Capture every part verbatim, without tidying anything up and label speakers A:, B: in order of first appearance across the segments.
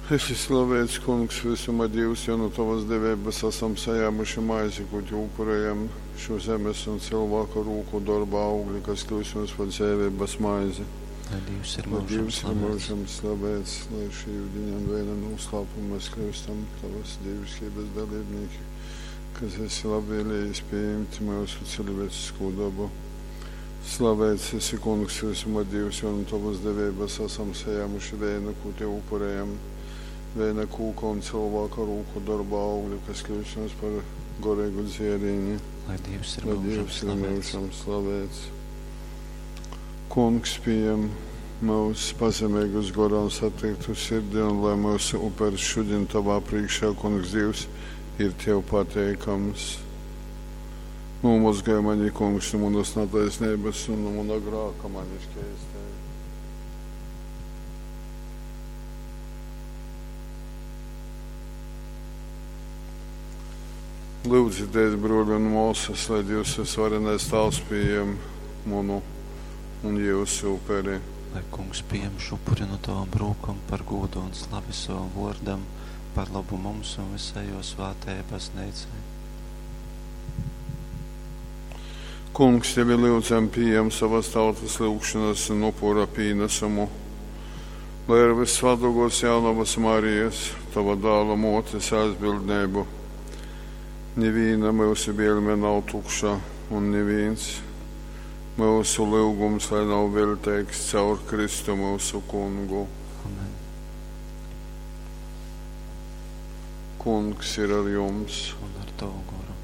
A: Esi slaveits, Kungs, visuma Dīvs, jo nu Tovas deveibas asam sajēmuši maizi, kū Tev upurējam, šo zemes un cilvēka rūku dorba augli, kas kļūst mums par dzeiveibas maizi.
B: Lai Dievs ir
A: Lai
B: mūžam
A: Dievs ir
B: slavēts.
A: mūžam slavēts, lai šī yudiņa un vēja noslēpuma mēs kļūstam Tavas dievišķības dalībnieki, kas esi labvēlējis pieņemt mūsu cilvēcisko dabu. Slavēts esi, Kungs, visuma Dievs, jo no Tavas devības esam sajēmuši vēju, ko Tev upurējam, vēja kūka un cilvēka rūku darba augļu, kas kļūst mums par gorīgu dzērieni.
B: Lai Dievs ir
A: Lai
B: mūžam
A: Dievs ir
B: slavēts.
A: mūžam slavēts. Kungs, pieņem mūsu pazemīgus gorā un satiktu sirdi, un lai mūsu uperis šodien Tavā priekšā, Kungs Dievs, ir Tev pateikams. Nomazgāj mani, Kungs, no manas netaisnības un no mana grāka mani šķēstē. Lūdzieties, broļi un māsas, lai Dievs visvarenais Tēvs pieņem manu un jūsu uperi.
B: Lai Kungs pieņem šo upuri no tavām rūkām par godu un slavi savam vārdam, par labu mums un visai jo svētajai baznīcai.
A: Kungs, tevi lūdzam, pieņem savas tautas lūgšanas un upura pienesumu, lai ar visvētākos jaunavas Marijas, tava dēla motes aizbildnību, neviena mūsu vielme nav tukša un neviens mūsu lūgums, lai nav veltīgs caur Kristu mūsu kungu.
B: Amen.
A: Kungs ir ar jums,
B: Un ar tavu goru.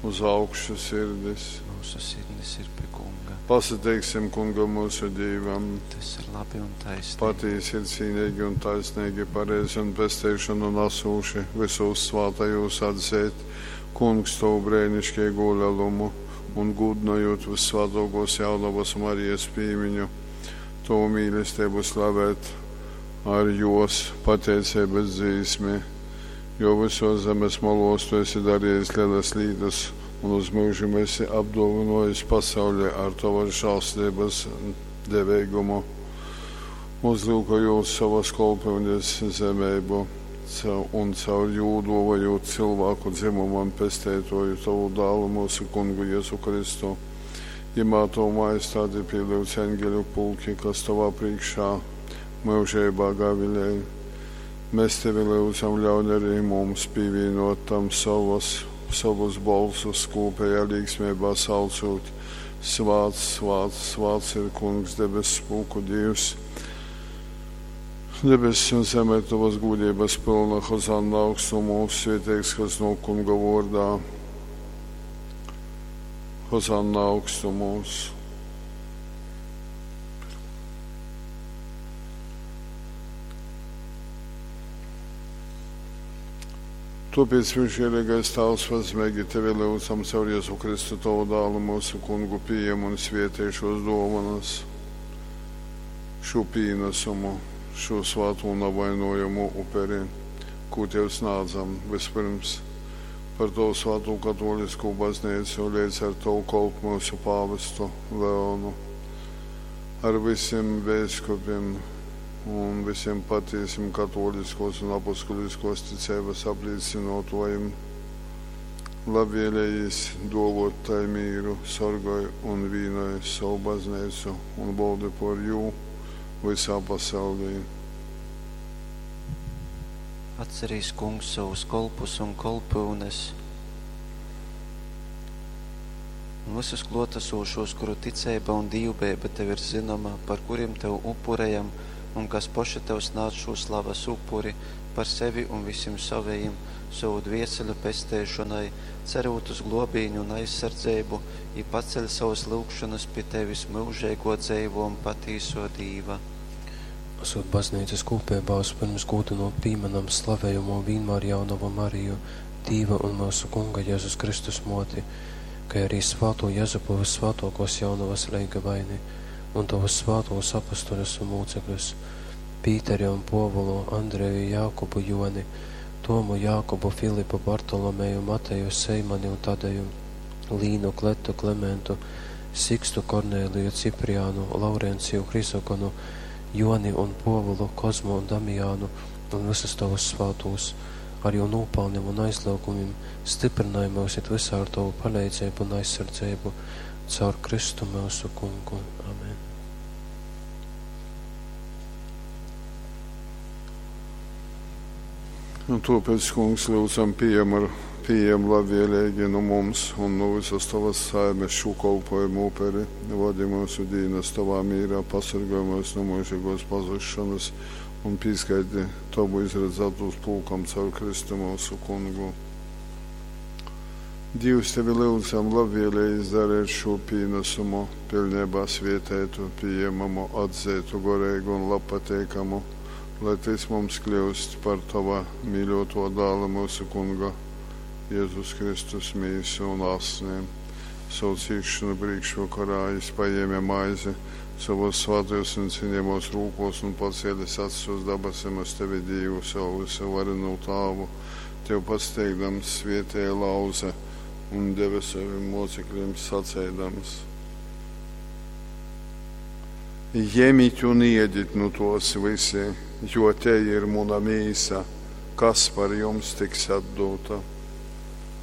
A: uz augšu sirdis.
B: Mūsu sirdis ir pie Kunga.
A: Pasateiksim kungam mūsu Dievam.
B: Tas ir labi un taisnīgi.
A: Patiesi ir cīnīgi un taisnīgi, pareizi un pestīšanu nesūši visos svātajos atzīt. Kungs tavu brēnišķīgo lielumu un gudnojot vissvētākos jaunavas Marijas pīmiņu, tavu mīlestību slavēt ar jos pateicības dzīsmi, jo visos zemes malos tu esi darījis lielas lietas un uz mūžiem esi apdāvinājis pasauli ar tavas žēlstības devēgumu. Uzlūkojot savas kolpyunes zemību un caur jū dāvājot cilvēku dzimumam pestētoju tavu dēlu mūsu kungu Jēzu Kristu. Jemā tavu majestāti pielūdz eņģeļu pulki, kas tavā priekšā mūžībā gavilē. Mēs tevi lūdzam, ļauj arī mums pievienot tam savas, savus balsus kopējā līgsmībā saucot. Svāts, svāts, svāts ir Kungs debesu pulku Dievs. Debesis un zeme ir tavas gudrības pilna, Hozanna augstumos, svētīgs, kas no kunga vārdā. Hozanna augstumos. Tāpēc, visžēlīgais Tēvs, pazemīgi tevi lūdzam caur Jēzu Kristu, tavu dēlu, mūsu kungu, pieņem un svētī šos dāvanas, šo pienesumu, šo svēto un nevainojamu uperi, ko tev snādzam vispirms par tavu svēto katolisko baznīcu, līdz ar tavu kolpu mūsu pāvestu Leonu, ar visiem bīskapiem un visiem patiesiem katoliskos un apustuliskos ticības apliecinotojiem. Labvēlējis dovot tai mīru, sargāj un vīnoj savu baznīcu un valdi par jū visā pasaulī.
B: Atcerīs Kungs savus kolpus un kolpyunes un visus klotesošos, kuru ticība un dīvbeiba tev ir zināma, par kuriem tev upurējam un kas poši tev snāc šo slavas upuri par sevi un visiem savējiem, savu dvieseļu pestēšanai, cerot uz globīņu un aizsardzību, i paceļ savas lūgšanas pie tevis mūžīgo dzeivo un patīso Dīva.
C: Esot baznīcas kūpībā, vispirms gūdinot pīmenam slavējamo vienmēr jaunavu Mariju, Dīva un mūsu Kunga Jēzus Kristus moti, kā arī svāto Jezupu vissvētākos jaunavas leigavaini un tavus svātos apustuļus un mūcekļus, Pīteri un Povulu, Andreju, Jākubu, Joni, Tomu, Jākubu, Filipu, Bartolomeju, Mateju, Seimani un Tadeju, Līnu, Kletu, Klementu, Sikstu, Kornēliju, Cipriānu, Laurenciju, Hrizogonu, Joni un Pōvulu, Kozmu un Damijānu un vysus tovus svātūs. Ar jū nūpalnim un aizlyugumim styprynoj myus it vysā ar tovu paleidzeibu un aizsardzeibu. Caur Kristu myusu Kungu. Amen.
A: Un tōpēc, Kungs, lyudzam, pījem, ar, pījem labvēlīgi nu mums un nu visas tovas saimes šū kolpojumu uperi. Vadi myusu dīnas tovā mīrā, pasorgoj myus nu myužīgos pazusšanas un pīskaiti tovu izradzātūs pulkam caur Kristu myusu Kungu. Dīvs tevi lyudzam labvēlīgi izdarīt šo pīnesumu, pilnībā svietētu, pieņemamu, atzeitu, goreigu un labpateikamu, lai tys mums kļūst par tava mīļoto dāla mūsu Kunga, Jēzus Kristus mīsu un asni. Savu cīšanu priekšvakarā jis paņēma maizi savos svētajos un cienījamos rūkos un pacēlis acis uz dabasim uz tevi Dievu, savu visu varenu tāvu, tev pasteigdams svietēja lauze un deva saviem mocekļiem sacēdams. Ņemiet un iediet nu tos visi, jo te ir muna mīsa, kas par jums tiks atdota.